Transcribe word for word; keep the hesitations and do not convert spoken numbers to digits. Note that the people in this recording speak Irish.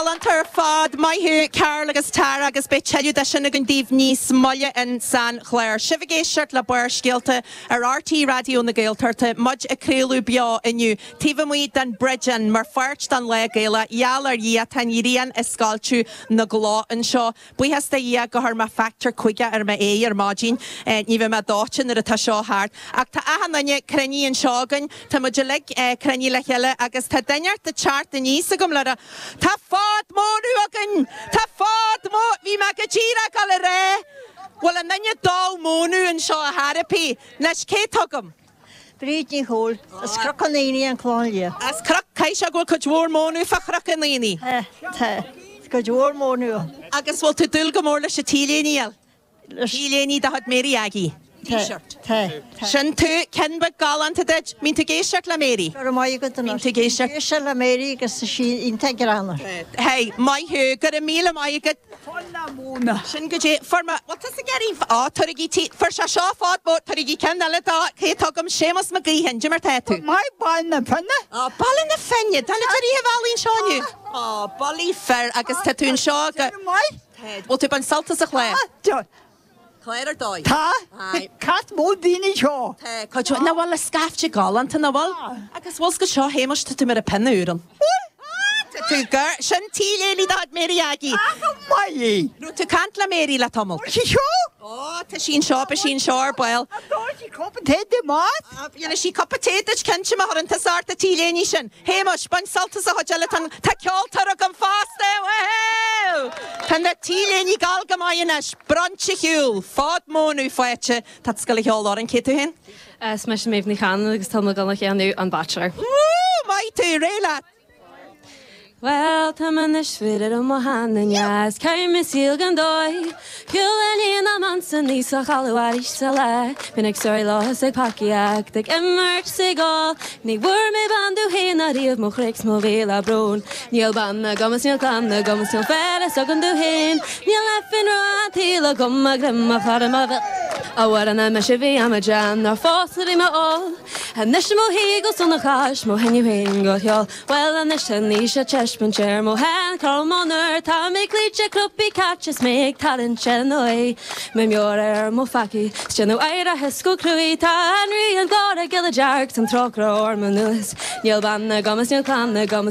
Galánta ar fad maith thú Carl agus Tara agus beidh tuilleadh de sin againn daoibh níos moille in san chlár. Sibh ag éisteacht le Barrscéalta ar RTÉ Raidió na Gaeltachta muid ag craoladh beo inniu. Taobh amuigh den Bridge Inn mar pháirt den Lá Gaelach gheall ar Dhia tá an ghrian ag scoilteadh na gcloch anseo. Buíochas do Dhia gur chuir mé factor cúig ar m'aghaidh ar maidin ní bheidh mé dóite nuair atá seo thart. Ach tá achan duine cruinnithe anseo againn Tá muid uilig cruinnithe le chéile agus tá duine ag teacht aníos agam le Tá fad mór againn Tá fad mó bhí mé go díreach le rá Bhfuil an duine dá mónú anseo a therapy leis cé tugam. Bríd Ní Chóil as Cnoc an Aonaigh an Clochán Liath. As Cnoc caiise go bhfuil cuid mhór mónú fá Chnoc an Aonaigh. Tá cuid mhór mónú. Agus bhfuil tú dúil go mór leis an T-léine T-léine de chuid Mary Aggie. T-shirt. Sin tú ceann beag galánta duit, mbíonn tú ag éisteacht le Mary. Go maith go Mbíonn tú ag éisteacht. Éiste le Mary agus sí iontach greannmhar. Hey, maith thú go raibh míle maith agat. Sin go dé for ma Well tá gerí á tuigí tí for se seo fád bó tuigí ceann eile dá cé tugam Séamus Mac Gaoithin, Cad é mar tá tú. Maith Baile na Finne? Á Baile na Finne, Tá na rí bhealaín seáú. Á Bailí fer agus tá tú anseo go Maith? Bhfuil tú bain sult as an chlár. Clár ar dóigh. Tá cat mó daoine seo. Cuid na bhfuil le scaifte galánta na bhfuil agus bhfuil go seo Shéamuis tá tú mar a pinúran. Tú gur sin T-léine de chuid Mary Aggie. Maith. Nó tú caint le Mary le tamall. Sí seo? Ó tá sin seo sin seo ar ball. Cupa tae di maith? Dhéanfaidh sí cupa tae duit cinnte má chuireann tusa ort an T-léine sin. Shéamuis bain sult as a chuid eile tá ceoltóir agam fosta. Tá na T-léiní gal go maith anois, brunch ar siúl, fad mónú fáite Tá scoil cheol ar an cé tú féin? Is mise Méabh Ní Chan agus tá gan a cheanú an Bachelor. Maith tú réidh leat. Well tá anois fir ar mo haneas Cai me síl gan dói Cúlaníon am ansan níos a chaluí sa le Bín ag sói lá ag paíach ag immert sigá Ní bhfuair mé bean domh féin ariamh mo chroí 's mo mhíle brón. Níl bean agam is níl clann agam is níl fear agam domh féin, Níl aifin an tsaoil agam a greim a chur ma bhil. A na me sé bhí am jan ar fás bhí me á. Anois mo hí go sona chas mo henú féin go cheol. Well anois ní se teispen ar mo hen Carmónar tá mé clíte cruppí cait mé ag talent se noi. Me meor ar mo faci, Stéú air a hesco cruí tá an rí an gára gile dearg an trócra ar man nuas. Níl bean agam is níl clann agam is